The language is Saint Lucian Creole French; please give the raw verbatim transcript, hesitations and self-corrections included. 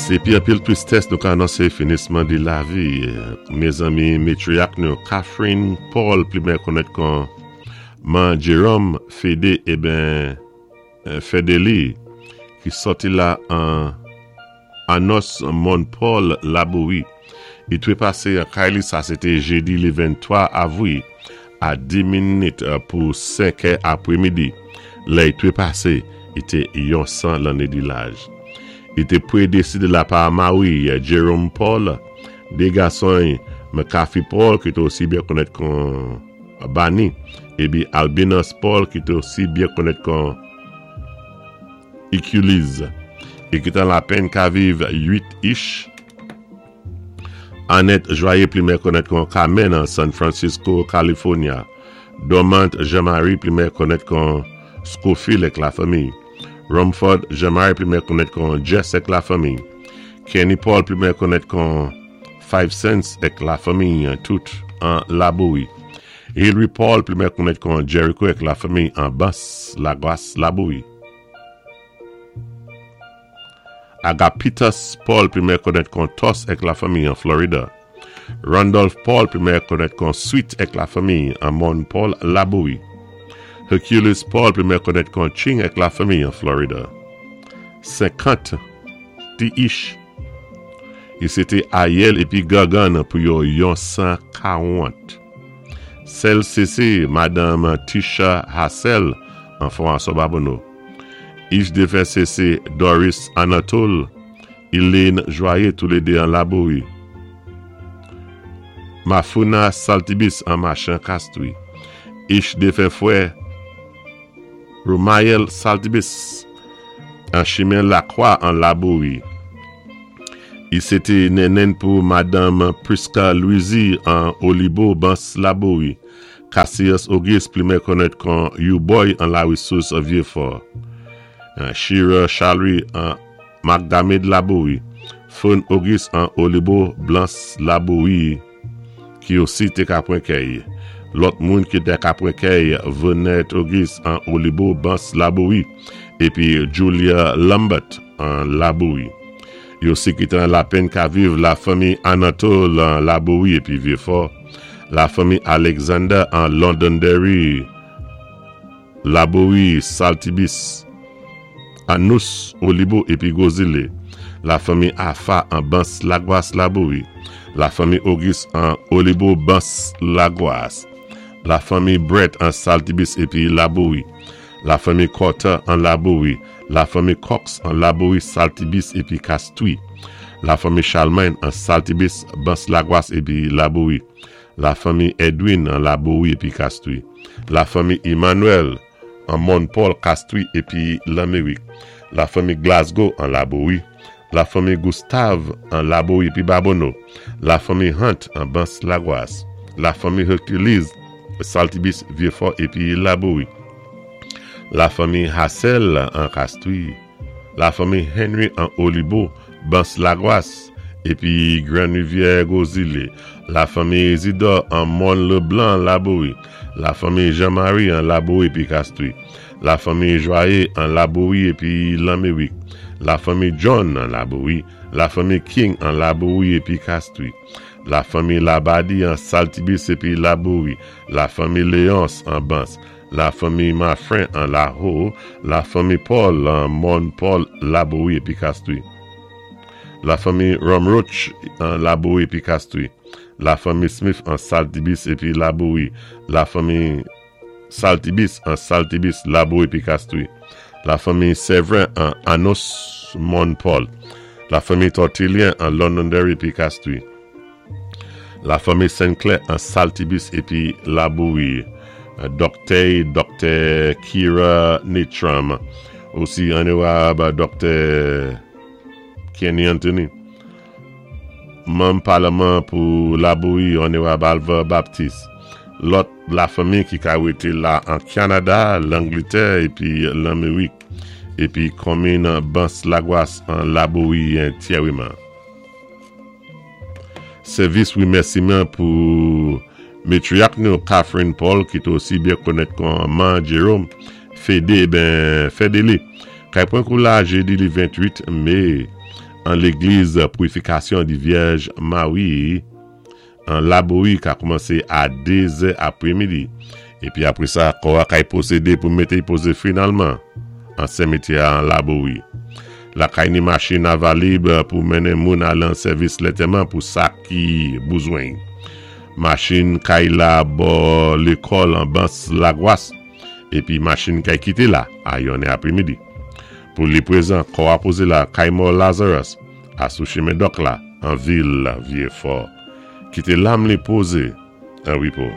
Sé épi anpil twistès nou ka anonsé finisman di lavi. Mézanmi matriarch nou Catherine Paul pli byen konnèt kon Man Jerome Fédé ében Fédéli ki sòti la an Anos Mòn Paul Laboui. I twépasé an kay li sa sé té jédi li venntwa avwi a di minit pou senkè apwémidi. Lè i twépasé, i té yon san lanné di laj. I té pwédési de la pa mari Jerome Paul, dé gason McCarthy Paul ki té osi byen konnèt kon Bani, épi Albinus Paul ki té osi byen konnèt kon Hercules. I ki té lapenn ka viv uit ich. Annette Joyeux pli meyè konnèt kon Carmen an San Francisco, California. Dormant Jean-Marie pli meyè konnèt kon Schofield èk lafanmi. Rumford Jean-Marie pli meyè konnèt kon Jess èk lafanmi. Kenny Paul pli meyè konnèt kon Five Cents èk lafanmi tout an Laboui. Hilary Paul pli meyè konnèt kon Jericho èk lafanmi an Bas Lagwas Laboui. Agapitus Paul pli meyè konnèt kon Tos èk lafanmi an Florida. Randolph Paul pli meyè konnèt kon Sweet èk lafanmi an Mòn Paul Laboui. Hercules Paul pli meyè konnèt kon Ching èk lafanmi an Florida. Senkant ti ich. I sé té ayèl épi gangann pou yo yon san kawant. Sèl sé Madanm Tisha Hassel an Fon Babonneau. Ich défen sé sé Doris Anatole, Elaine Joyeux toulédé an Laboui. Mafuna Saltibus an Machan Castui. Ich défen fwè Romayel Saltibus an Chimen Lacroix an Laboui. I sé té nennenn pou Madanm Priska Louisi an Olibo Bans Laboui. Cassius Auguste pli meyè konnèt kon U-Boy an La Ressource Vieux-Fort. Shira Chalry an Magdamed Laboui. Fon Auguste an Olibo Blanc Laboui ki osi té ka pwan kèy. Lòt moun ki té ka pwan kèy Venette Auguste an Olibo Bans Laboui épi Julia Lambert an Laboui. Yo osi ki té an lapenn ka viv lafanmi Anatole an Laboui épi Vieux-Fort. Lafanmi Alexander an Londonderry Laboui Saltibus Anous Olibo épi Gozile. Lafanmi Afa an Bans Lagwas Laboui. Lafanmi Auguste an Olibo Bans Lagwas. Lafanmi Brett an Saltibus épi Laboui. Lafanmi Carter an Laboui. Lafanmi Cox an Laboui Saltibus épi Castui. Lafanmi Charlemagne an Saltibus Bans Lagwas épi Laboui. Lafanmi Edwin an Laboui épi Castui. Lafanmi Emmanuel an Mòn Paul Castui épi Lamérik. Lafanmi Glasgow an Laboui. Lafanmi Gustave an Laboui épi Babonneau. Lafanmi Hunt an Bans Lagwas. Lafanmi Hercules Saltibus Vieux-Fort épi Laboui. Lafanmi Hassel an Castui. Lafanmi Henry an Olibo Bans Lagwas épi Grand Rivière Gozile. Lafanmi Isidore an Mont Leblanc Laboui. Lafanmi Jean-Marie an Laboui épi Castui. Lafanmi Joyeux an Laboui épi Lamérik. Lafanmi John an Laboui. Lafanmi King an Laboui épi Castui. Lafanmi Labadi an Saltibus épi Laboui. Lafanmi Léonce an Bans. Lafanmi Mafrin an Laho. Lafanmi Paul an Mont Paul Laboui épi Castui. Lafanmi Romroch an Laboui épi Castui. Lafanmi Smith an Saltibus épi Laboui. Lafanmi Saltibus an Saltibus Laboui épi Castui. Lafanmi Séverin an Anos Mont Paul. Lafanmi Tortillien an Londonderry épi Castui. Lafanmi Sinclair an Saltibus épi Laboui. Doktè Doktè Kira Nitram. Osi Onorab Doktè Kenny Anthony. Manm palman pou Laboui Onorab Alva Baptiste. Lòt lafanmi ki ka wété la an Kanada, Langlétè épi Lamérik. Épi konmin Bans Lagwas an Laboui antyèman. Sèvis wimèsiman pou matriarch nou Catherine Paul ki té osi byen konnèt kon Man Jerome Fédé ben Fédéli. Kay pwan kou la jédi li venntwit mé An légliz Pwouifikasyon di Vyèj Mari an Labowi ka koumansé a dé zè apwémidi. Épi apwé sa, kò-a kay pwosédé pou mété'y pozé finalman an simityè an Labowi. Lakay ni machin avalib pou mennen moun al an sèvis lantèman pou sa ki bezwen. Machin kay la bò lékòl an Bans Lagwas épi machin kay kité la a yon apwémidi. Pou li pwézan, kò a pozé la kay mò Lazarus a sou chimen dòk la an vil Vyé Fò. Kité lam li pozé an wépo.